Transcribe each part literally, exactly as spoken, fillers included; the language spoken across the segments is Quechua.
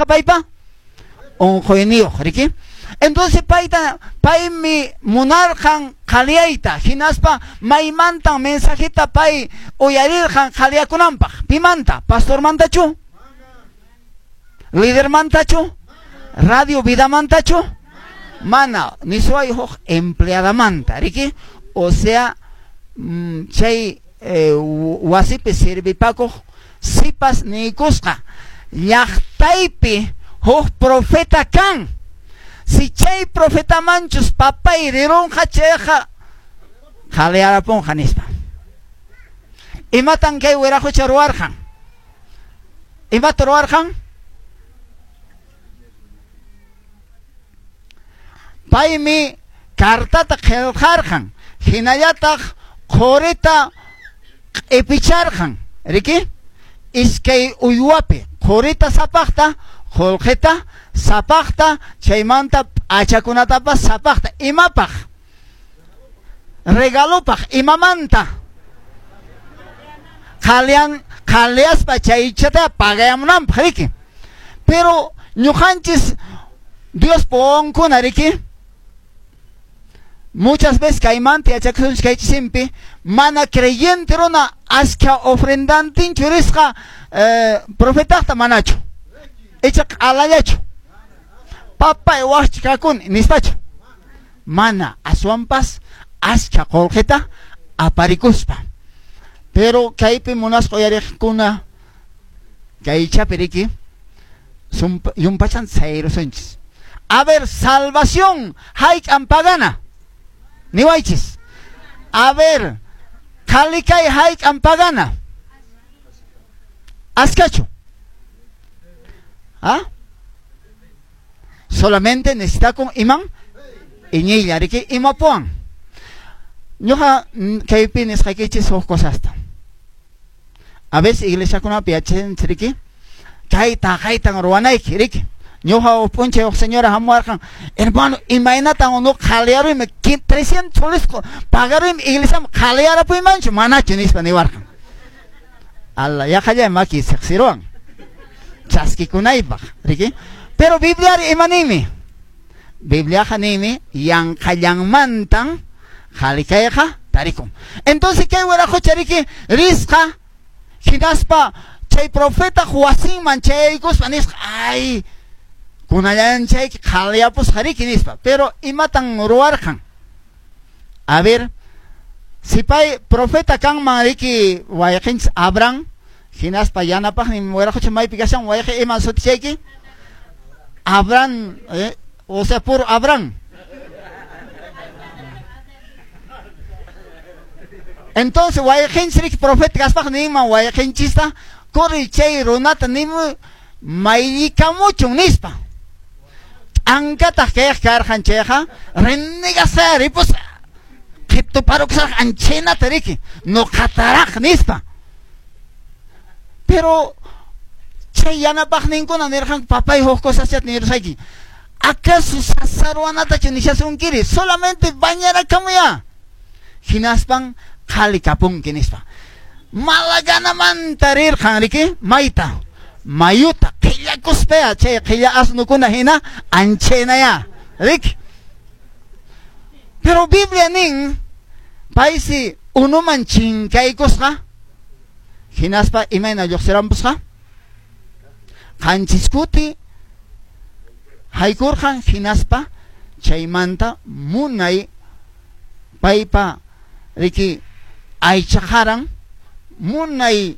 kasqa paypa? Unquyniyuq, riki? Entonces payta paymi munarqan qhaliyayta, hinaspa maymantan mensajeta pay uyarirqan qhaliyakunanpaq. Pimanta? Pastormantachu? Lidermantachu? Radio Vidamantachu? Mana, nisuay huk empleadamanta, riki? O sea, mm, chay eh, wasipi sirvipakuq sipas niykusqa llaqtaypi huk profeta kan. Si chay profetamanchus papay rirunqa chayqa qhaliyarapunqa nispa. Imatan kay wiraqucha ruwarqan? Imata ruwarqan? Paymi cartata qillqarqan, hinallataq qurita q'ipicharqan, riki? Iskay uywapi qurita sapaqta, qullqita sapaqta, chaymanta p'achakunatapas sapaqta. Imapaq? Regalopaq. Imamanta? Qhaliyan qhaliyaspa chaychata pagayamunanpaq, riki? Pero ñuqanchis Dios wawankuna, riki? Muchas veces kaymanta yachakusunchis kaychisimpi mana creyente runa askha ofrendantinchu risqa eh, profetaqta manachu, icha q'alallachu, papay waqchi kakuni nispachu, mana, aswanpas askha qullqita aparikuspa. Pero kaypi munasqa uyariqkuna kaychapi, riki, yumpachan sayrusunchis. A ver, salvación hayk'an pagana? Niwaychis. A ver, qhalikay hayk'an pagana? Askachu? ¿Ah? Solamente necesita con imán iñiylla, riki, imapuan. Ñuqa kaypi nisqaykichis huk cosasta. A veces iglesiakunapi yachachinchis, riki, kayta kaytan ruwanayki, riki. Ñuqa huk p'unchay huk señora hamuwarqan, hermano, imaynatan unuqa qhaliyaruymi, trescientos soles pagaruymi iglesiaman, qhaliyarapuymanchu manachu nispa niwarqan. Alla, yaqalla maki siqsiruwan chaskikunaypaq, riki? Pero Bibliari ima ninmi? Bibliaqa ninmi yanqallanmantan qhalikayqa tarikun. Entonces kay wiraqucha, riki, risqa hinaspa chay profeta wasinman chayaykuspa nisqa, ay, kunallan chayki qhaliyapusqa, riki, nispa. Pero imatan ruwarqan? A ver, si pay profeta kanman, riki, wayqinchis Abraham, hinaspa yanapaqnin wiraqucha maypi kashan, wayqi iman sutichayki? Abraham, eh, o sea, puro Abraham. Entonces wayqinchis, riki, profeta kaspaq ninman wayqinchista, corri chay runata nimu maylikamuchun nispa. Ankataq kayaq karqan chayqa renegasqa ripusqa, qhiptuparukusaq anchinata, riki, nuqataraq nispa. Pero chay yanapaqninkuna nirqanku, papay huk cosaschata nirusayki, acaso sasaruwanatachu nishasunkiri, solamente bañarakamuya, hinaspan qhali kapunki nispa. Malaganamanta rirqan, riki, mayta, mayuta qillakuspaya, chay qilla asnukuna hina anchinaya, riki. Pero Biblia nin paysi unuman chinkaykusqa, hinaspa imayna lluqsirampusqa, qanchis kuti haykurqan, hinaspa chaymanta munay paypa, riki, aychaqaran munay,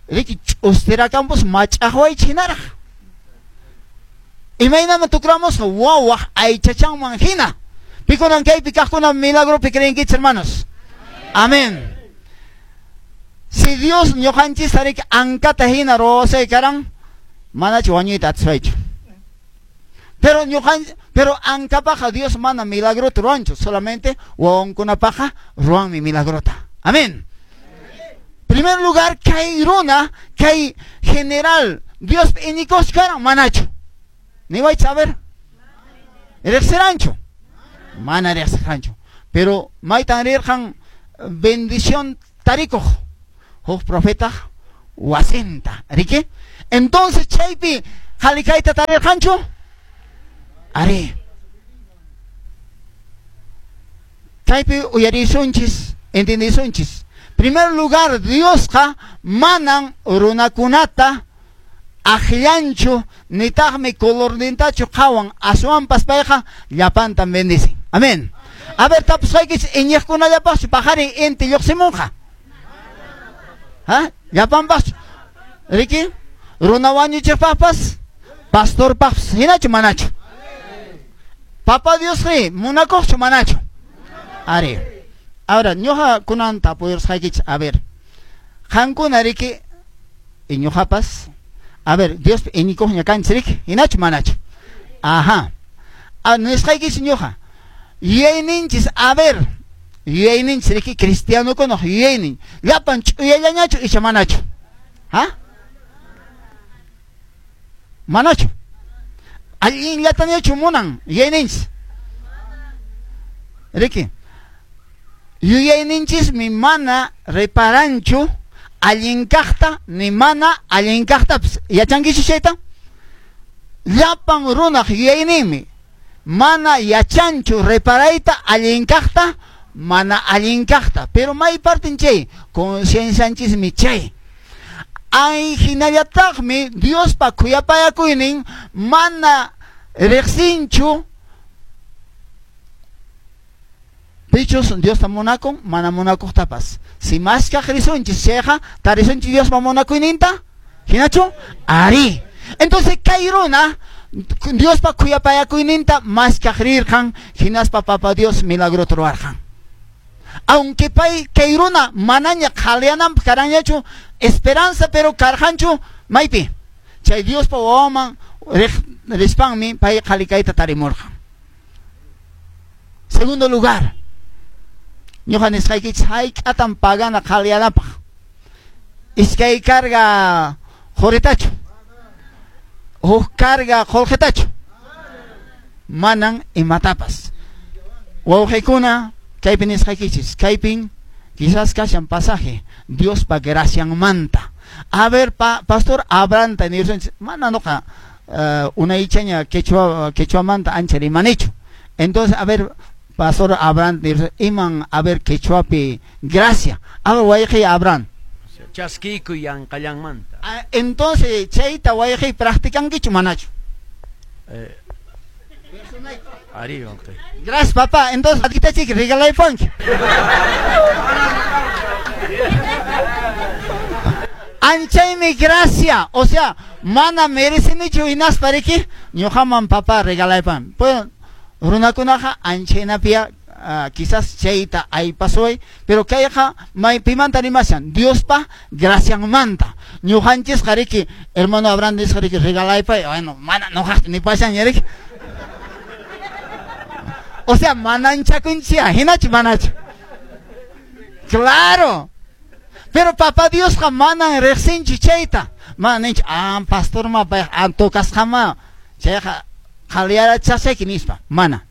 riki, ch'ustirakanpus mach'aqwaychik hinaraq. Imaynaman tukramusqa wawaq aychachanman hina. Pikunan kaypi kaqkuna milagropi creenkichis, hermanos? Amén. Si Dios ñuqanchista, riki, ankata hina ruwasay karan, manachu wañuyta atiswaychu. Pero ñuqan, pero ankapaqa Dios mana milagrota ruwanchu, solamente wawankunapaqa ruwanmi milagrota. Amén. Primer lugar, kay runa, kay general, Dios iñikusqa karan manachu. Niwaychis, a ver. Riqsiranchu? Mana riqsiranchu. Pero maytan rirqan bendición tarikuq huk profeta wasinta, riki? Entonces chaypi Qhalikayta tarirqanchu? Ari. Kaypi uyarisunchis, entendisunchis. Primer lugar, Diosqa manan runakunata akllanchu nitaqmi colornintachu qhawan, aswanpas payqa llapantan bendicen. Amén. A ver, tapusqaykichis iñiqkunallapaqchu paqarin inti lluqsimunqa? Ha? Llapanpaqchu? Riki? Runa wañuchiqpaqpas, pastorpaqpas, hinachu manachu? Papa Diosri munakuqchu manachu? Ari. Ahora, ñuqa kunan tapuyusqaykichis, a ver. Qankuna riki iñuqapas, a ver, Diospi iñikuqña kanchis riki, hinachu manachu? Ajá. A nisqaykichis ñuqa. Yuyayninchis, a ver, yuyayninchis riki cristianokunaq yuyaynin, llapan ch'uyallañachu icha manachu? Ha? Manachu? Allinllatañachu munan yuyayninchis? Riki, yuyayninchismi mana reparanchu allin kaqta ni mana allin kaqtapas. Yachankichu chayta? Llapan runaq yuyayninmi mana yachanchu reparayta allin kaqta mana allin kaqta. Pero may partin chay conciencianchismi chay. Ay hinallataqmi Diospa khuyapayakuynin mana riqsinchu pichus Diosta munakun mana munakuqtapas. Si maskaq risunchis chayqa tarisunchis Diospa munakuyninta, hinachu? Ari. Entonces kay runa Diospa khuyapayakuyninta maskaq rirqan, hinaspa Papa Dios milagrota ruwarqan. Aunque pay kay runa manaña qhaliyananpaq karanñachu esperanza, pero karqanchu maypi chay Diospa wawanman rispanmi pay qhalikayta tarimurqan. Segundo lugar, ñuqa nisqaykichis hayk'atan pagana qhaliyanapaq? Iskay carga quritachu, huk carga qullqitachu? Manan imatapas. Wawqikuna, kaypi nisqaykichis, kaypin quizás kashan pasaje Diospa gracianmanta. A ver, pa, pastor Abraham nirsunchis, mana nuqa uh, unaychaña quechua quechuamanta ancha rimanichu. Entonces, a ver, pastor Abraham nirsun, iman a ver quechuapi gracia. A ver, wayqi Abraham. Chaskikuy yanqallanmanta. Ah, entonces, chayta wayqi practicankichu manachu? Eh, ari wayqi. Gracias, papá. Entonces, atitachik regalaypanki. Anchaymi gracia, o sea, mana merecinichu hinaspa riki ñuqaman papá regalaypan. Pues runakunaqa anchaynapia uh, quizás chayta aypasuay, pero kayqa maypimanta rimashan Diospa gracianmanta. Ñuqanchisqa riki hermano Abraham nisqa riki regalaypay, bueno, mana ñuqaqta nipashaña riki. O sea, mananchakunchia, hinachu manachu? Claro. Pero papá Diosqa manan riqsinchu chayta. Mana ninchu, ah, pastor ma payqa ah, tocasqama chayqa qhaliyarachasayki nispa. Mana.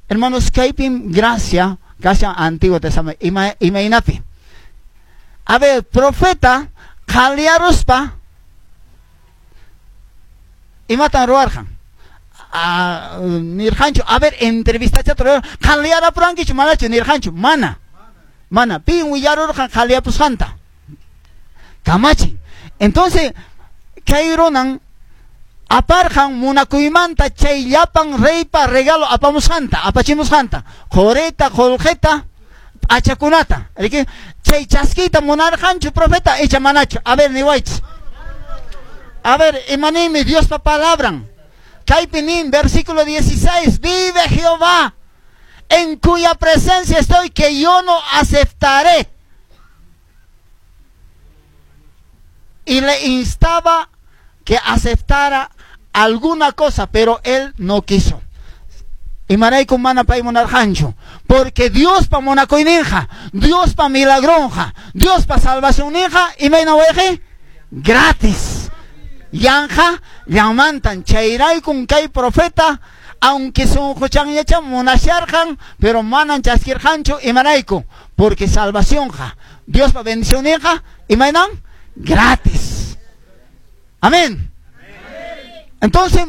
Hermanos, kaypim gracia kashan Antiguo Testamento ima imaynapi. A ver, profeta qhaliyaruspa imatan ruwarqan? Ah, nirqanchu, a ver, entrevistachata qhaliyarapurankichu manachu nirqanchu? Mana. Mana, pin willarurqan qhaliyapusqanta. Kamachin. Entonces, kay runan aparqan munakuymanta chay llapan reypa regalo apamusqanta, apachimusqanta, qurita, qullqita, p'achakunata. Riki, chay chaskiyta munarqanchu profeta icha manachu? A ver, niwaychis. A ver, imaninmi Diospa palabran. Kaypi nin, versículo dieciséis, vive Jehová, en cuya presencia estoy, que yo no aceptaré. Y le instaba que aceptara alguna cosa, pero él no quiso. Imarayku mana pay munarqanchu, porque Dios pa munakuyninqa, Dios pa milagronja, Dios pa salvacionninqa, imayna wayqi? Gratis. Yanja llamantan chayraykun kay profeta, aunque sunquchanñacha munasharqan, pero manan chaskirqanchu. Imarayku? Porque salvacionqa, Diospa bendicionninqa, imaynan? Gratis. Amén. Entonces,